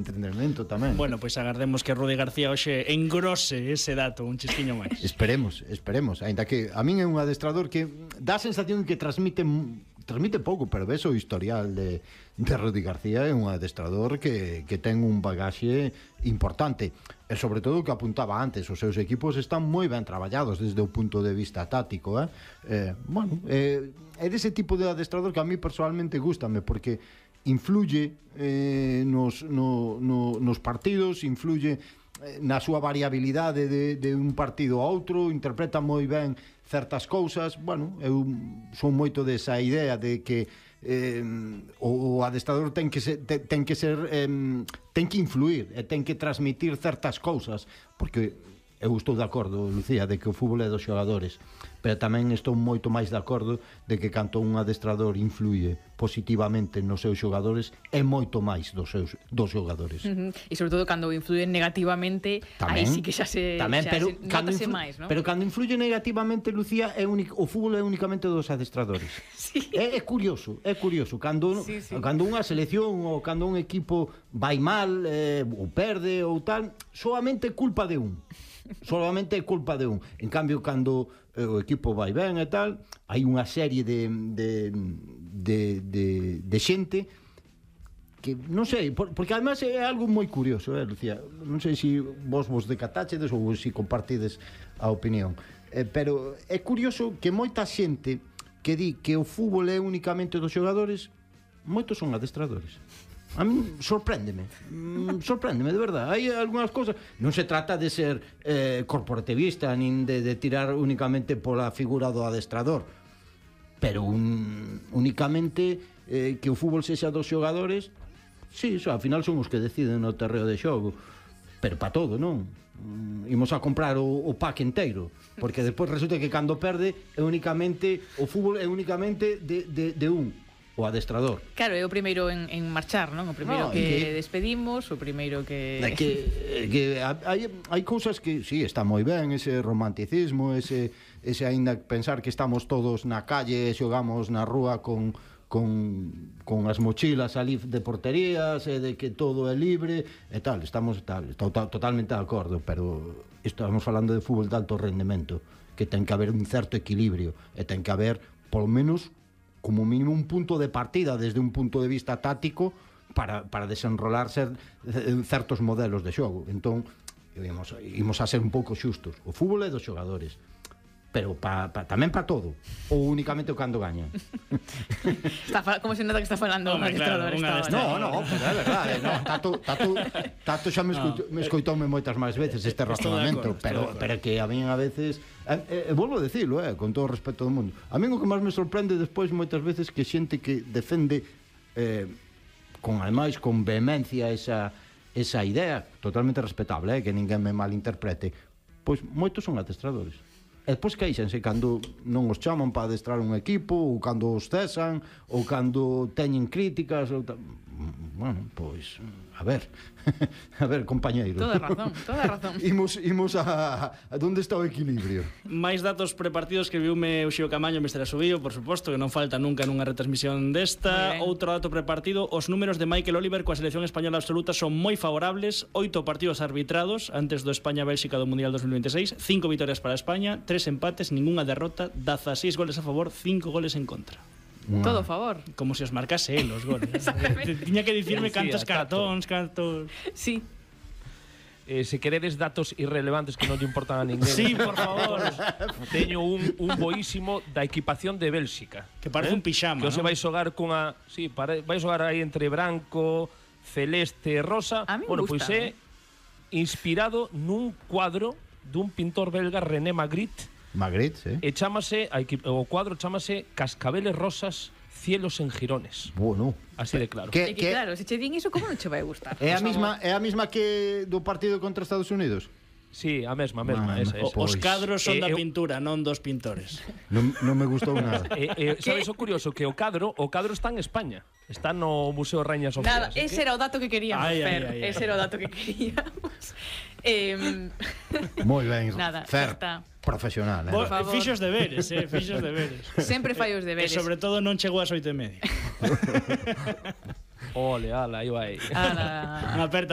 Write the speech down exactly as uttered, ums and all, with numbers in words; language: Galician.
entrenamento tamén. Bueno, pois pues agardemos que Rudi García hoxe engrose ese dato un chisquiño máis. Esperemos, esperemos. Ainda que a min é un adestrador que dá a sensación que transmite transmite pouco, pero ves o historial de, de Rudi García é un adestrador que, que ten un bagaxe importante. E sobre todo o que apuntaba antes, os seus equipos están moi ben traballados desde o punto de vista táctico, eh? Eh, bueno, eh, é dese tipo de adestrador que a mí personalmente gústame, porque influye eh, nos, no, no, nos partidos, influye eh, na súa variabilidade de, de un partido a outro, interpreta moi ben certas cousas. Bueno, eu son moito desa idea de que eh, o, o adestrador ten que ser, ten, ten que ser eh, ten que influir e ten que transmitir certas cousas, porque eu estou de acordo, Lucía, de que o fútbol é dos xogadores, pero tamén estou moito máis de acordo de que canto un adestrador influye positivamente nos seus xogadores é moito máis dos seus dos xogadores. Uh -huh. E sobre todo cando influyen negativamente, aí sí que xa se tamén, xa pero se cando notase influ, máis, ¿no? Pero cando influye negativamente, Lucía, é único, o fútbol é únicamente dos adestradores. Sí. É, é curioso, é curioso cando sí, sí. cando unha selección ou cando un equipo vai mal, eh, ou perde ou tal, solamente é culpa de un. Solamente é culpa de un. En cambio, cando eh, o equipo vai ben e tal, hai unha serie de de, de, de, de xente que, non sei, por, porque además é algo moi curioso, eh, Lucía. Non sei se vos vos decatáchedes ou se compartides a opinión, eh, pero é curioso que moita xente que di que o fútbol é únicamente dos xogadores, moitos son adestradores. A mí sorpréndeme, mm, sorpréndeme, de verdad. Hai algunhas cousas, non se trata de ser eh, corporativista nin de, de tirar únicamente pola figura do adestrador, pero un, únicamente eh, que o fútbol sexa dos xogadores, sí, so, ao final son os que deciden no terreo de xogo, pero pa todo, non? Mm, imos a comprar o, o pack inteiro, porque despois resulta que cando perde é únicamente o fútbol é únicamente de, de, de un, o adestrador. Claro, é o primeiro en, en marchar, non? O primeiro no, que, que despedimos, o primeiro que... que, que hai, hai cousas que, sí, está moi ben, ese romanticismo, ese, ese aínda pensar que estamos todos na calle e xogamos na rúa con, con, con as mochilas ali de porterías e de que todo é libre e tal, estamos tal, estou totalmente de acordo, pero estamos falando de fútbol de alto rendemento, que ten que haber un certo equilibrio e ten que haber, polo menos, como mínimo un punto de partida desde un punto de vista táctico para, para desenrolarse certos modelos de xogo. Entón, imos, imos a ser un pouco xustos. O fútbol é dos xogadores, pero pa, pa, tamén para todo, ou únicamente o cando gaña. Está, como se nota que está falando un adestrador. No, no, pero é verdade, no, Tato, Tato, Tato xa me, escoito, me escoitoume moitas máis veces este razonamento, pero, pero que a mí a veces... E, e, volvo a decirlo, eh, con todo o respeto do mundo, a mí o que máis me sorprende despois moitas veces que xente que defende eh, con ademais con vehemencia esa, esa idea totalmente respetable, eh, que ninguén me malinterprete, pois moitos son adestradores e despois queixanse cando non os chaman para adestrar un equipo, ou cando os cesan, ou cando teñen críticas ou tal. Bueno, pois a ver a ver, compañeiro, toda razón, toda razón. imos, imos a, a donde está o equilibrio. Máis datos prepartidos que viume o Xio Camaño Mestre Asubío, por suposto, que non falta nunca nunha retransmisión desta. Outro dato prepartido, os números de Michael Oliver coa selección española absoluta son moi favorables. Oito partidos arbitrados antes do España-Bélxica do Mundial dos mil veintiséis, cinco vitorias para España, tres empates, ningunha derrota, dezaseis goles a favor, cinco goles en contra. Una... Todo a favor. Como se os marcase él os goles. Tiña que dicirme sí, cantos cartóns, cantos... Sí. Eh, se queredes datos irrelevantes que non lle importan a ninguén. Sí, por favor. Teño un, un boísimo da equipación de Bélxica. Que parece eh? un pixama, que ¿no? se vai xogar cunha... Sí, para, vai xogar aí entre branco, celeste e rosa. A mí bueno, gusta, pois é inspirado nun cuadro dun pintor belga, René Magritte. Magritte, sí. E chámase, o cuadro chámase Cascabeles Rosas, Cielos en Girones. Bueno, así de claro. Que, que claro, se che din iso, como non che vai gustar? É a mesma, é a mesma que do partido contra Estados Unidos. Sí, a mesma, a mesma, Man, esa, esa. Os cadros son eh, da eh, pintura, non dos pintores. Non, non me gustou nada. Eh, eh, sabes o curioso? Que o cadro o cadro está en España. Está no Museo Reina Sofía. Nada, ese que... era o dato que queríamos, ay, Fer. Ay, ay, ese ay. era o dato que queríamos. eh... Moi ben, nada, Fer, está. Profesional, eh? Bo, fixos deberes, eh, fixos deberes. Sempre fai os deberes. E sobre todo non chegou ás oito e media. Ole, ala, aí vai. Ala. Unha aperta.